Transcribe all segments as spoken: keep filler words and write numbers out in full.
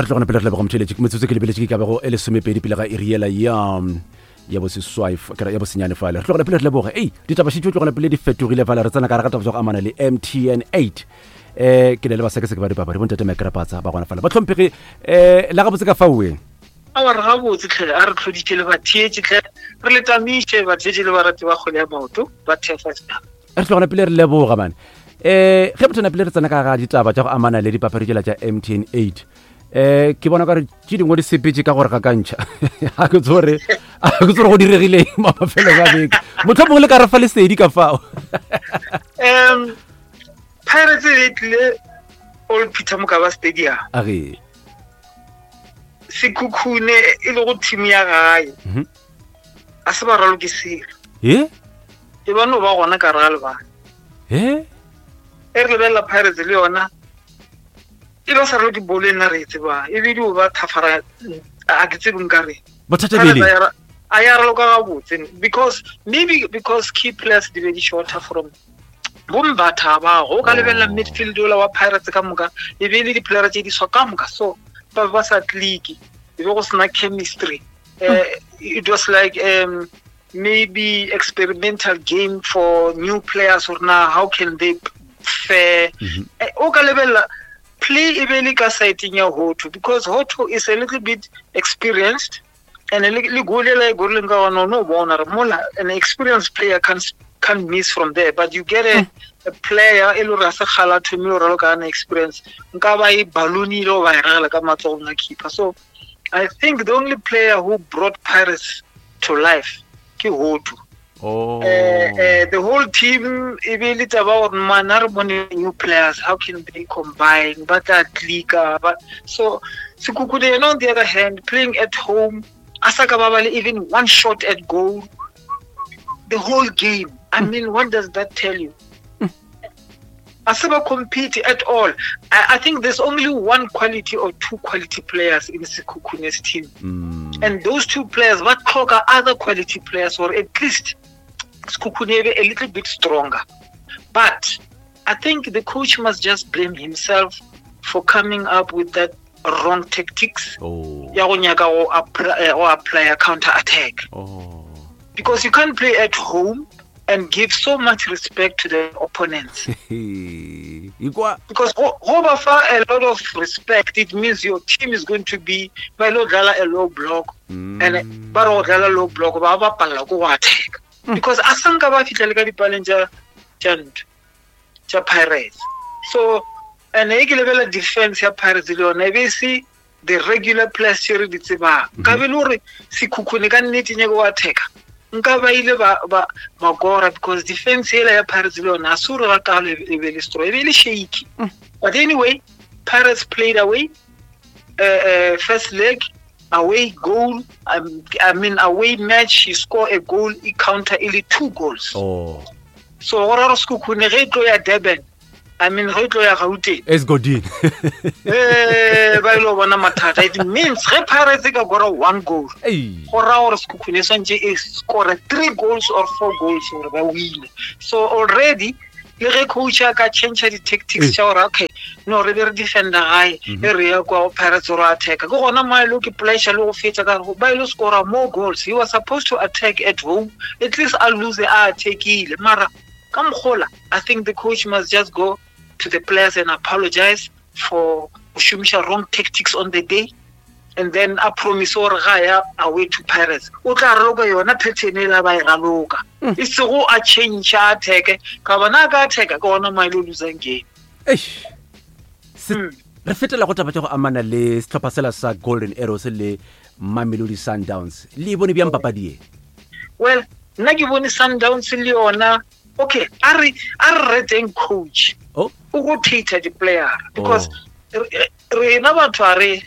Re tlogana pele re leboga motheletši. Metsotso ke lebeletše ke ka bego e lesomepedi pele ga iri yela ya ya boseswai f- ke ra ya bosenyane fale. Re tlogela pele re leboge. Ei, ditaba šetše tlogela pele di fetogile fale. Re tsena ka gare ga taba tša go amana le M T N eight. um ke ne le basekaseke ba dipapadi, bontate Mekrapatsa ba gona fale. Ba tlhomphege, um la gabotse ka faoe? Awa, re gabotse tlhe. A re tlhoditše le batheetše tlhe, re le tamiše batheetše le barati ba kgwele ya maoto ba T F S. Re tlogela pele re leboga mane. um ge motho pele re tsena ka ga ditaba tša go amana le dipapadi tšela tša M T N eight, um ke bona kare tše dingwe di sepetse ka gore ga kantšha ga ke tsore ga ke tsore go diregileng mo mafelong a beke. Motlho mongwe le ka re fa lesedi ka fao. um Pirates e tlile Old Peter Mokaba Stadium. Age. Sekhukhune e le go team ya gae, Mhm. a se ba raloke selo. E. E ba no ba gona ka re ga lebala. E. E re lebelela Pirates le yona e ba sa raloke bolo e nna re e tsebang, e be dio ba thafara, a ke tsebe nka reng. Bothata bele. A ya raloka gabotse because maybe because key players di be di shorter from bombatha bago. O ka lebelela Oh. midfield ola wa Pirates ka moka e be e le di-playera tse di swa ka moka, so ba be ba sa click, e be go sena chemistry. uh, it was like um, maybe experimental game for new players or now how can they fare. Mhm. Eh, o ka lebelela play e be le ka sideng ya Hoto because Hoto is a little bit experienced and le le goal ela e gorileng ka gona, o no bona re mola an experienced player can can't miss from there, but you get a, a player e le gore a se kgala a thomile go raloka ana experience, nka ba e balloonile go ba e ragela ka matsogong a keeper. So I think the only player who brought Pirates to life ke Hoto. Oh. uh, uh, the whole team e be le taba gore man, a re bone new players, how can they combine, ba tla clicka ba. So Sekhukhune yena, on the other hand, playing at home, a sa ka ba ba le even one shot at goal the whole game. I mean, what does that tell you? A se ba compete at all. I, I think there's only one quality or two quality players in Sekhukhune's team, Mm. and those two players ba tlhoka other quality players or at least Sekhukhune e be a little bit stronger. But I think the coach must just blame himself for coming up with that wrong tactics Oh. ya go nyaka go apply, eh, go apply a counter attack, Oh. because you can't play at home and give so much respect to the opponents. Ikwa. Because go go ba fa a lot of respect, it means your team is going to be ba ile go dlala a low block, Mm. and ba re go dlala low block, ba ba palela ko go attack because a sanka ba fitlha le ka dipaleng tša tša ntho tša Pirates. So and e ke lebelela defense ya Pirates le yona e be e se the regular players tše re di tsebang. Nka be le gore Sekhukhune ka nnete nyake go attacka, nka ba ile ba ba ba kora because defense ela ya Pirates le yona a se gore ga kalo e be le strong, e be e le shaky. But anyway, Pirates played away, uh, uh, first leg away goal, um, I mean, away match, you score a goal, e counter e le two goals. Oh. So go ra gore Sekhukhune ge e tlo ya Durban, I mean, ge e tlo ya Gauteng, Esgodin. eh ba ile go bona mathata. It means ge Pirates e ka kora one goal, Ei. go raya gore Sekhukhune e swantse e score three goals or four goals gore ba wine. So already le ge coach a ka change di-tactics Eh. tša gore okay, no, re be re defenda gae, e re ya kwa go Pirates gore attacka, ke gona mo a ile ke pressure le go fetsa ka gore ba ile score more goals. He was supposed to attack at home, at least a lose a attackile. Mara ka mokgola, I think the coach must just go to the players and apologize for go šomiša wrong tactics on the day, and then a promise gore ga ya away to Pirates o tla raloka yona pattern e la ba e raloka, e sego a change a attack, ka bona a ka attacka ke gona mo a ile losang game. Eish. Se- Mm. Re fetela go taba tša go amana le setlhopha sela sa Golden Arrows le Mamelodi Sundowns. Le e bone bjang papadi e? Well, nna ke bone Sundowns le yona, okay, a re a re reteng coach Oh. o rotator di-player because Oh. re- rena batho a re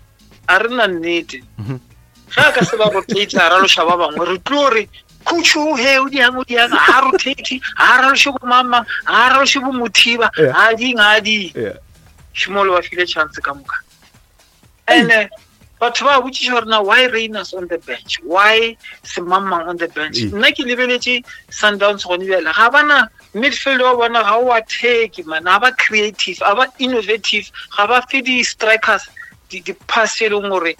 a re na nnete. Mhm. Ge a ka se ba rotate, a raloša ba bangwe, re tlo re coach o he o diang o diang, ga rotate, ga raloše bo mama, ga raloše bo Mothiba, Yeah. ga ding ga ding. Yeah. Šimolo ba file chance ka moka, and eh, batho ba botšiša gore na why Rainers on the bench, why semangmang on the bench. Ee. Nna ke lebeletše Sundowns gone bjale, ga bana midfield wa bona ga o attack man, ga ba creative, ga ba innovative, ga ba fe di-strikers di-pass e leng gore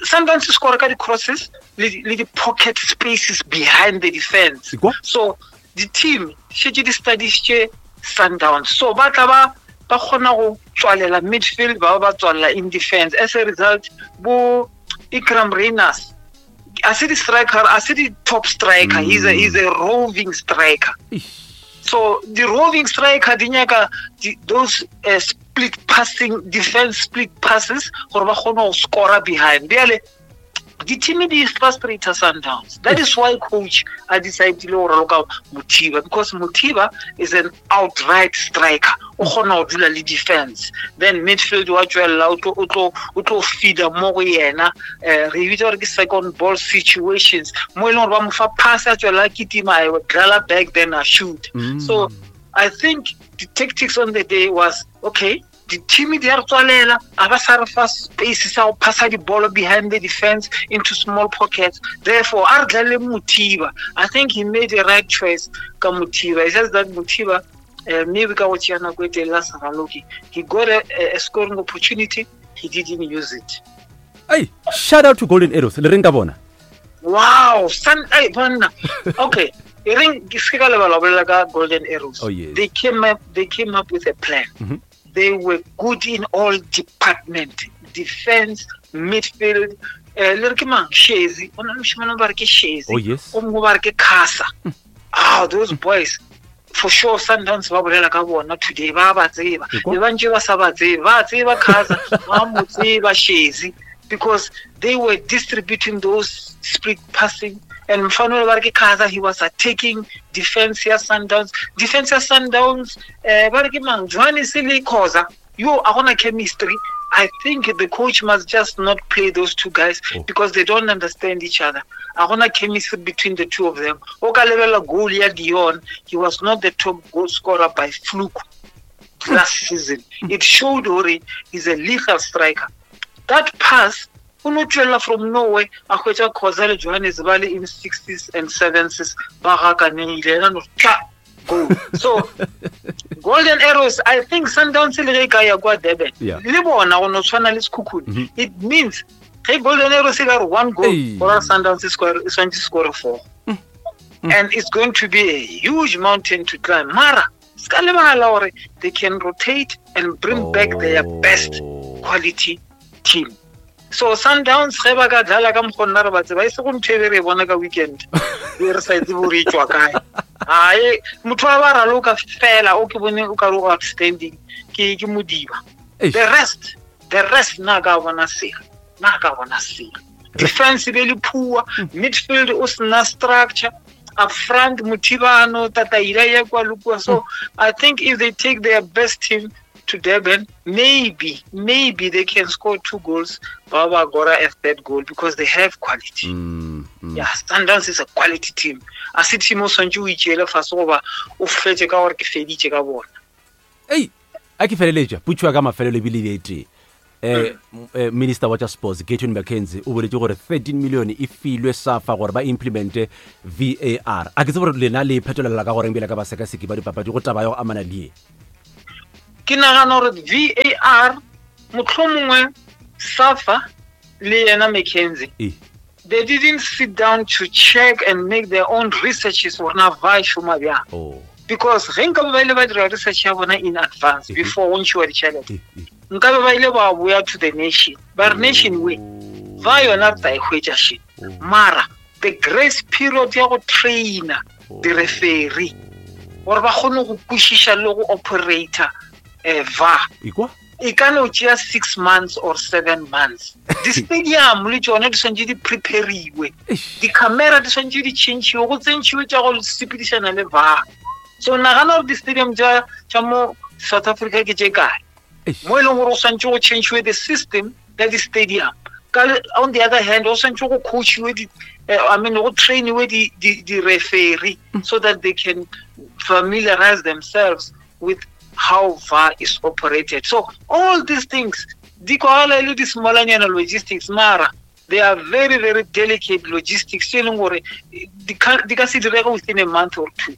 sometimes score ka di-crosses le di-pocket spaces behind the defense. So the team šetše di studišitše Sundowns, so ba tla ba ba kgona go tswalela midfield, ba ba tswalela in defense. As a result, bo Ikram Reyners a se di striker, a se di top striker, mm. he's a he's a roving striker. So the roving striker di nyaka those uh, split passing defense split passes gore ba kgone go score behind. Bjale di team di frustrate Sundowns. That is why coach a decided go raloka Mothiba, because Mothiba is an outright striker. O kgona go dula le defense, then midfield wa tswelela o tlo o tlo o tlo feeder mo go yena. Re bitsa gore ke second ball situations mo e leng gore ba mo fa pass a tswelela kitima a dlala back then a shoot. Mm. So I think the tactics on the day was okay. The team di a re tswalela, a ba sa re fa space sa go phasa dibolo behind the defense into small pockets. Therefore, a re dlale Mothiba. I think he made the right choice ka Mothiba. It's just that Mothiba, uh, maybe ka go tšea nako e telele a sa raloke. He got a, a scoring opportunity, he didn't use it. Hey, shout out to Golden Arrows. Le reng ka bona? Wow, son, hey, banna. Okay. E reng ke se ka lebala bolela ka Golden Arrows. Oh, yes. They came up, they came up with a plan. Mm-hmm. They were good in all department, defense, midfield. Le re ke mang? Shezi. O na le moshemane ba re ke Shezi. Oh, yes. O mongwe ba re ke Khasa. Ah, those boys, for sure Sundowns ba bolela ka bona today, ba ba tseba. Be ba ntse ba sa ba tsebe. Ba tseba Khasa, ba mo tseba Shezi, because they were distributing those split passing. And mfano ba re ke Khasa, he was attacking defense ya Sundowns. Defense ya Sundowns, eh ba re ke mang? Johannes le Khoza. Yo, a gona chemistry. I think the coach must just not play those two guys, oh. because they don't understand each other. A gona chemistry between the two of them. O ka lebella goal ya Dion, he was not the top goal scorer by fluke last season. It showed hore he's a lethal striker. That pass o no tswela from nowhere a hwetša Khoza le Johannes ba le in sixties and seventies ba gakaneng ile ena no tla go. So Golden Arrows, I think Sundowns le ge ka ya kwa Durban le bona go no tshwana le Sekhukhune. It means ge Golden Arrows e ka re one goal or Sundowns score e swantse score four. Mm. And it's going to be a huge mountain to climb. Mara ska lebala gore they can rotate and bring oh. back their best quality team. So Sundowns ge ba ka dlala ka mokgonna re ba tseba e se go ntho e be re e bona ka weekend e re sa itse gore e tswa kae. Ae motho wa ba raloka fela o ke bone o ka re o outstanding ke ke Modiba. The rest the rest na ka bona sela na ka bona sela. Defense be le poor, midfield o sna structure, up front Mothibano Tataila ya kwa le kwa. So I think if they take their best team to Durban, maybe, maybe they can score two goals, Baba Gora a third goal, because they have quality. Mm, mm. Yeah, Sundowns is a quality team. A se team o swantse o itšeele fase goba o fetse ka gore ke feditše ka bona. Ei, a ke feleletša putšo ya ka mafelelo ebile e tee. Eh, eh, Minister wa tša Sports Gayton McKenzie o boletse gore thirteen million e filwe SAFA gore ba implemente V A R. A ke tsebe gore lena le phetolela ka goreng bjale ka basekaseki ba dipapadi go taba ya go amana le ye. Ke nagana gore V A R mohlomongwe SAFA le yena McKenzie, they didn't sit down to check and make their own researches gore na va šoma bjang. Oh. Because ge nkabe ba ile ba dira research ya bona in advance before go ntšhiwa ditšhelete, nkabe ba ile ba boya to the nation ba re nation we va yona re tla e hwetša she. Mara the grace period ya go trainer di-referee gore ba kgone go kwešiša le go operator eh V A R e ka no tšea six months or seven months. Di-stadium le tšone di swantše di prepariwe, di-camera di swantše di tšhentšhiwe, go tsentšhiwe tša go sepedišana le V A R. So nagana gore di-stadium tša tša mo South Africa ke tše kae mo e leng gore go swantše go tšhentšhiwe the system ya di-stadium. Ka on the other hand, go swantše go coachiwe di I mean go trainiwe di di-referee so that they can familiarize themselves with how V A R is operated. So all these things, di kwagala e le di-smallanyana logistics, mara they are very, very delicate logistics. E leng gore di ka se direge within a month or two.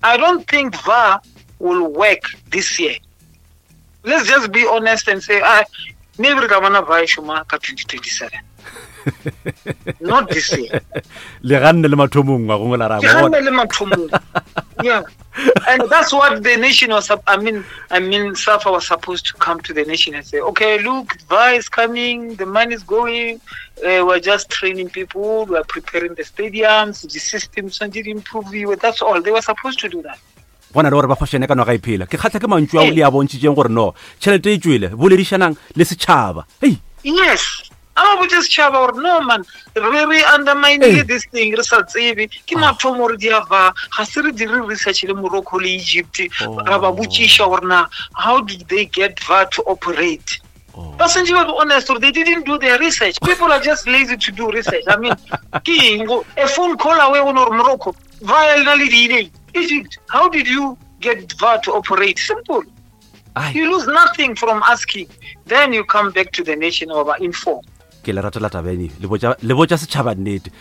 I don't think V A R will work this year. Let's just be honest and say, ah, Maybe re tla bona ba e šoma ka twenty twenty-seven. Not this year. Le ganne le mathomong ngwagong la ra bona. Le ganne le mathomong. Yeah. And that's what the nation was, I mean, I mean, SAFA was supposed to come to the nation and say, okay, look, V A R is coming, the money is going, uh, we're just training people, we're preparing the stadiums, the systems, and did improve you. That's all. They were supposed to do that. Bona le gore ba fošene ka noga e phela. Ke kgatla ke mantšu ao le a bontšhitšeng gore no, tšhelete e tšwele, boledišanang le setšhaba. Hey. Yes. A ba botse setšhaba gore no man, re re undermine this thing, re sa tsebe. Ke mathomo gore di a va, ga se re dire research le Morocco le Egypt, ra ba botšiša gore na how did they get V A R to operate? Ba santse ba be honest gore they didn't do their research. People are just lazy to do research. I mean, ke eng a phone call away go gore Morocco, V A R le na le di Egypt, how did you get V A R to operate? Simple. Aye. You lose nothing from asking. Then you come back to the nation over inform. Ke le rata la tabeng le botša le botša setšhaba nnete.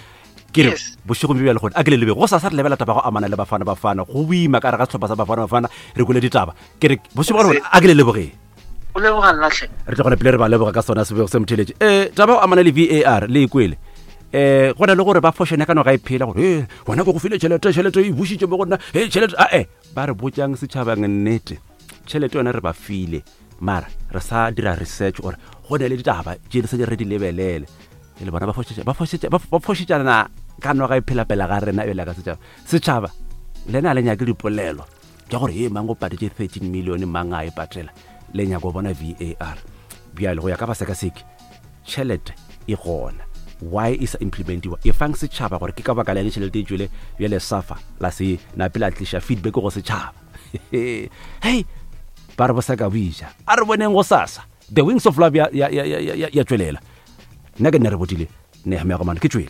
Ke re bošego bjo bjale gone a ke le lebe go sa sa re lebela taba go amana le Bafana Bafana go boima ka re ga sehlopha sa Bafana Bafana re kwele ditaba. Ke re bošego gone a ke le lebogeng. O leboga nna hle. Re tla gone pele re ba leboga ka sona sebego se motheletše. Eh taba go amana le V A R le e kwele. Eh gona le gore ba fošene ka noga e phela gore eh wena go go file tšhelete tšhelete e bušitše mo go nna eh tšhelete a eh ba re botšang setšhabang nnete tšhelete yona re ba file mara re sa dira research gore go ne le ditaba tše di sa re di lebelele le bona ba fošetša ba fošetša ba fošetšana ka noga e phela pela ga rena ebele ka setšhaba setšhaba le na le nyake dipolelo tša gore e mang o patetse thirteen million mang a e patela le nyako bona V A R bjale go ya ka basekaseki tšhelete e gona why e sa implementiwa e fang setšhaba gore ke ka baka la eng tšhelete e tšwele bjale SAFA la se nape la tliša feedback go setšhaba. Hey ba re bosaka boija a re boneng go sasa the wings of love ya ya ya ya ya tšwelela nna ke nne re botile Nehemia Gomane ke tšwele.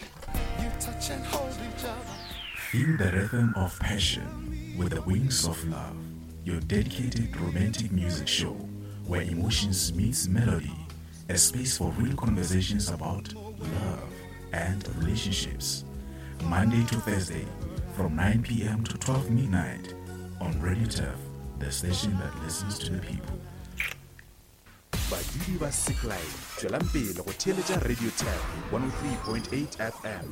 Feel the rhythm of passion with the Wings of Love, your dedicated romantic music show where emotions meets melody, a space for real conversations about love and relationships. Monday to Thursday from nine p.m. to twelve midnight on Radio Turf, the station that listens to the people. Badudi ba Seklai, tšwelang pele go theeletša Radio Turf one oh three point eight F M.